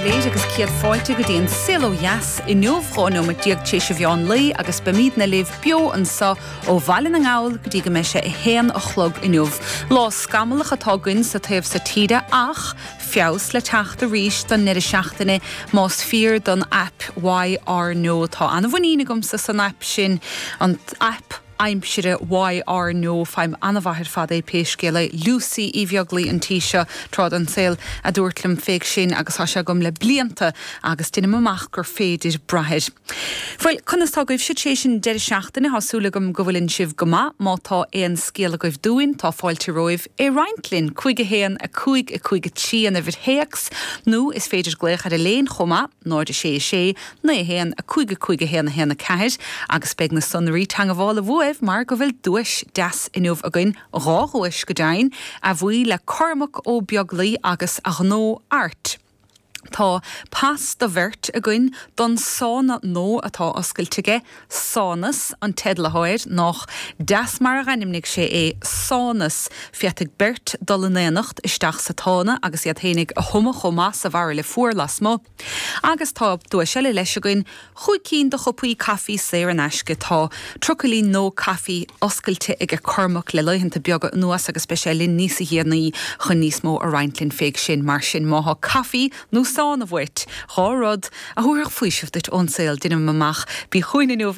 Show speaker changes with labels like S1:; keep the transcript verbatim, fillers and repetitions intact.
S1: go léir agus céad fáilte go dtí an Saol Ó Dheas inniu dhá nóiméad déag tar éis an mheán lae agus beimidne libh beo anseo ó Bhaile na nGall go dtí go mbeidh sé a haon a chlog inniu. Lá scamallach atá againn sa taobh seo tíre ach feabhas le teacht arís don deireadh seachtaine más fíor don aip YR No tá an-mhuinín agamsa san aip sin an aip aimsire YR No feidhm an-mhaith ar fad é pé scéal é Lucy Uí Bheaglaoí an tí seo tráth den saol a dúirt liom fé sin agus tá sé agam le blianta agus deinim amach gur féidir brath air. Bhuel conas tá agaibh tar éis an deireadh seachtaine tá súil agam go bhfuil sibh go maith má tá aon scéal agaibh dúinn tá fáilte romhaibh é roinnt linn cúig a haon a cúig a cúig a trí an uimhir théacs nó is féidir glaoch ar an líne chomh maith náid sé sé naoi haon a cúig a cúig a haon a haon a ceathair agus beidh na sonraí teagmhála uaibh mar go bhfuil duais deas inniu againn dhá dhuais go deimhin a bhuí le Cormac Ó Beaglaoí agus a ghnó Art. Tá pas do bheirt againn don sána nua atá oscailte aige Sánas an teideal atá air nach deas mar a d'ainmnigh sé é sánas féadfaidh beirt dul in éineacht isteach sa tsána agus iad féinig a thumadh chomh maith sa bhairille fuar lasmuigh. Agus tá duais eile leis againn chúig cinn de chupaí caife saor in aisce tá trucailí nua caife oscailte ag Cormac le laethanta beaga anuas agus beidh sé linn níos déanaí chun níos mó a roinnt linn fé sin mar sin má tá caife nó sána uait dhá rud a thabharfadh faoiseamh duit ón saol deinim amach bí chugainn inniu